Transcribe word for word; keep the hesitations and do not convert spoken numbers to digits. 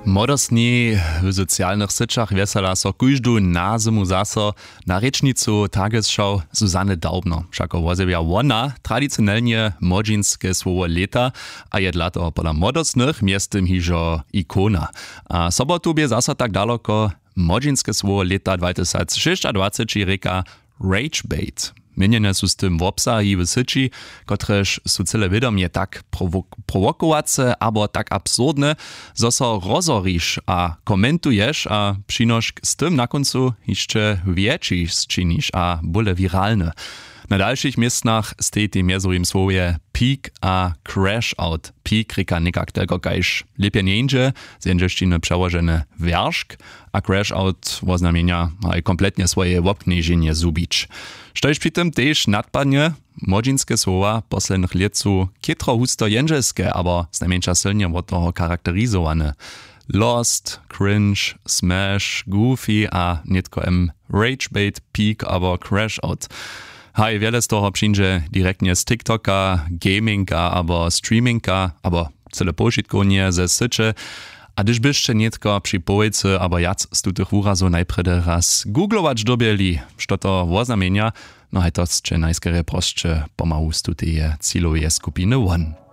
Młodostni w socialnych syćach wjesela so kóždu na zymu zaso na rěčnicu Tagesschau Susanne Daubner. Wšako wozjewja wona tradicionelnje młodźinske słowo lěta a je dla toho pola młodostnych mjeztym hižo ikona. A sobotu bě zaso tak daloko młodźinske słowo lěta dwatysacšěsćadwaceći rěka Ragebait. Měnjene su z tym wobsahi w syći, kotrež su cyle wědomje tak prowokowace abo tak absurdne, zo so rozhoriš a komentuješ a přinošk z tym na kóncu hišće wjetši sčiniš a bóle wiralny. Na dalšich městnach stej tej mjezowim słowje peak a crash out. Peak rěka někak telko kaž lěpje njeńdźe, z jendźelšćiny přełožene wjeršk, a crash out woznamjenja haj kompletnje swoje wobknježenje zhubić. Štož při tym tež nadpadnje, młodźinske słowa poslednjych lět su chětro husto jendźelske abo znajmjeńša sylnje wot toho charakterizowane. Lost, cringe, smash, goofy a nětko m ragebait, peak abo crash out. Haj wjele z toho přińdźe direktnje z tiktoka, gaminga abo streaminga abo cyle powšitkownje ze syće. A hdyž byšće nětko při połojcy abo wjac z tutych wurazow najprjedy raz googlować dyrbjeli, što to woznamjenja, no haj to sće najskerje prosće pomału z tuteje ciloweje skupiny won.